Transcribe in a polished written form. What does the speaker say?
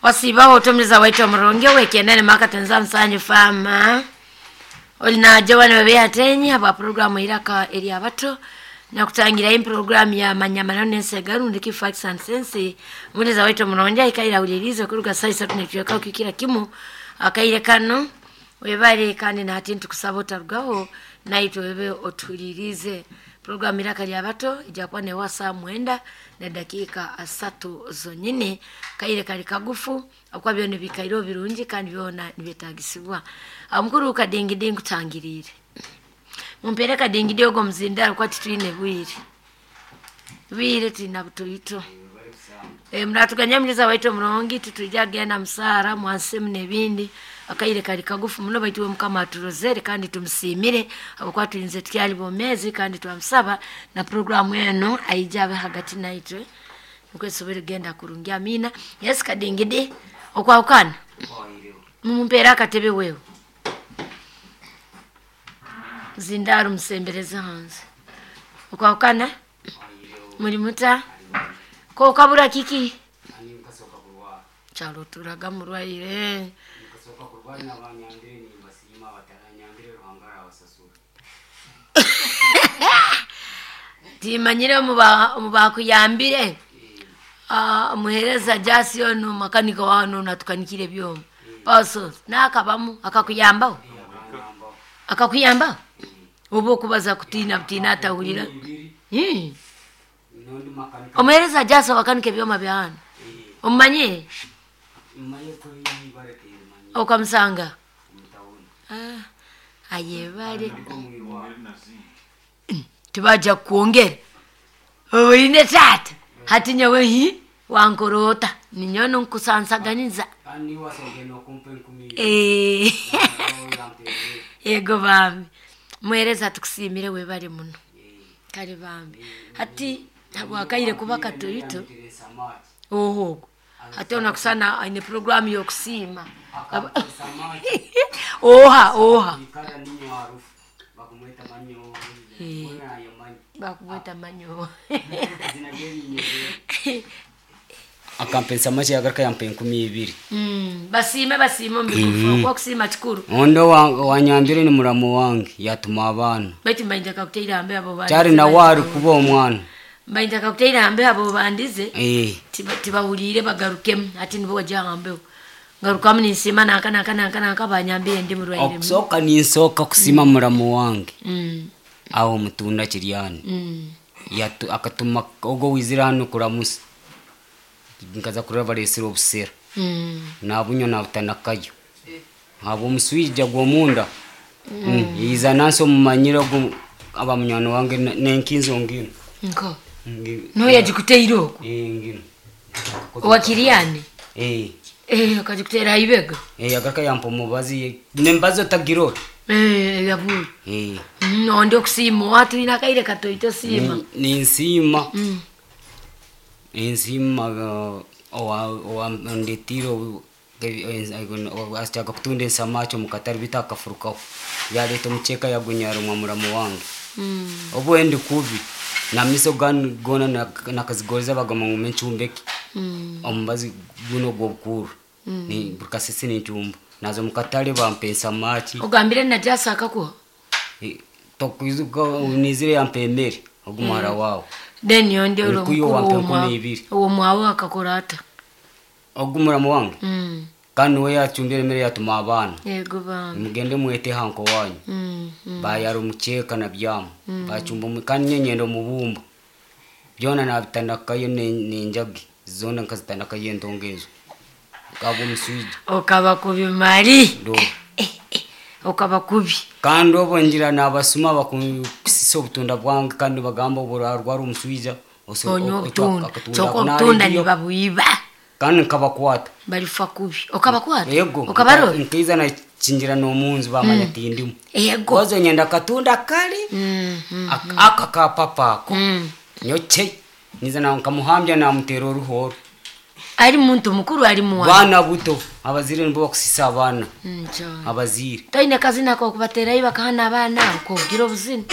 Wasiibaho otumiza waitu omurungi ow'ekyenda nimakatenza musanju faama oli na Joan Webeyatenyi habwa puroguramu Iraka Eryabato nakutangirayo puroguramu ya Manyamano n'Ensega rundi ki Facts and Sense. Omuheereza waitu omurungi aikaire ahuriiriize okuruga saaha isatu n'ekicweka kuhikira kimu akaire kanu. Webale kandi nahati nitukusaba otarugaho naitwe obe otuhuriiriize. Puroguramu Iraka Ryabato ija kuba neewa saaha mwenda n'edakiika asatu zonyini. Akaire kari kagufu ahabw'okuba byona biikaireho birungi kandi byona nibyetaagisibwa. Omukuru Kadingidi nkutangiriire. Mumpeere Kadingidi ogu omuzindaaro kuba titwine bwire. Bwire twina butoito. Muratuganya omuheereza waitu omurungi titwija kugenda musaara mwansemu n'ebindi akaire kari kagufu muno baitu we Mukama aturozere kandi tumusiimire habwokuba turinze tukyali bomeezi kandi twamusaba na puroguramu enu aije abe hagati naitwe nukwo esobole kugenda kurungi. Amiina. Yes Kadingidi okwahukana mumpeere akatebe wewe. Zindaaro musembereze hanze. Okwahukana muri muta? Kokabura kiki? Kyaro oturaga murwaire. Timanyire omu bakuyambire omuheereza Jasi onu makanika wanu natukanikira ebyoma. Paso nakabamu akakuyambaho? Akakuyambaho? Oba okubaza kutiina butiina atahurira. Omuheereza Jasi owakanika ebyoma bya hanu. Omumanyire? Okamusanga? Ayebare. Tibaija kukwongera. Oine taata hati nyowe hi wankora ota? Ninyowe nkusansaganiza. Ego bambi. Muheereza tukusiimire webale muno. Kare bambi. Hati habwakaire kuba katoito oho ogwo. Hati onakusana aine puroguramu y'okusiima. Oha oha. Bakumweta manyowe. Akampa ensamaki yagaruka yampa 20,000. Basiime basiime omu bigufu ahabw'okuba okusiima kikuru. Ondi owanyambire ni muramu wange yatuma abaana. Baitu mbaine ntakakutaire aha mbeho abo Kyari nawe ari kuba omwana. Mbaine ntakakutaire aha mbeho abo bandize tibahuriire bagarukemu hati nibo wagya aha mbeho. Ngarukamu ninsiima nanka nanka nanka nanka banyambire ndi murwaire muno. Okusooka ninsooka kusiima muramu wange aho Mutunda Kiryani. Akatuma ogwo owaizire hanu kuramusa nkaza kureba bareesire obusera nabunywa nabutanakayo ahabw'omuswija gw'omunda yaiza nansi omumanyire ogu aba munywani wange n'enkinzo nginu. Nka? Niwe yagikuteire okwo? Nginu. Owa Kiryani? Akagikuteera aha ibega? Yagaruka yampa omubazi n'emibazi otagirora. Eyabura. Ondi okusiima owa twine akaire katoito siima. Ninsiima ninsiima owandetiire ashaka kutunda ensamaki omu katare beitu akafurukaho yareeta omukyeka yagunyarumwa muramu wange. Obu ndi kubi n'amaisho goona nakazigoriza bagamba ngu ncumbeke omubazi gunu ogw'obukuuru buri kasese nincumba. Naaza omu katare bampa ensamaki. Ogambire na Jasi akakuha? Tokwijuka naizire yampa emere ogu muhara waawe. Then ondi ori Nikuyo omukuru wampa 20,000. ow'omwawe akakora ata? Ogu muramu wange kandi niwe yacumbire emere yatuma abaana. Yego bambi. Mugende mwete hanko wanyu. Bayara omukyeka na byama. Bacumba kandi nyowe nyenda omubumba. Byona nabitanakayo n'enjagi zoona nkazitanakayo entongo ezo. Nkaba omuswija. Okaba kubi mari. Okaba kubi. Kandi obu ngira nabasuma bakusisa obutunda bwange kandi nibagamba obu orarwara omuswija Onywa obutunda. Kyonka obutunda nibabwiba. Kandi nkabakwata. Barifa kubi. Okabakwata? Yego. Okabarora? Nkaiza nakingira n'omunju bamanya tindimu. Yego. Kozo nyenda akatunda kari aka ka papa ako. Nyokye. Niza nkamuhambya namuteera oruho oru. Ari muntu mukuru ari mwana? Baana buto. Abazaire nibo bakusisa abaana. Abazaire. Toine kazina k'okubateerayo bakahana abaana abo kokugira obuzina?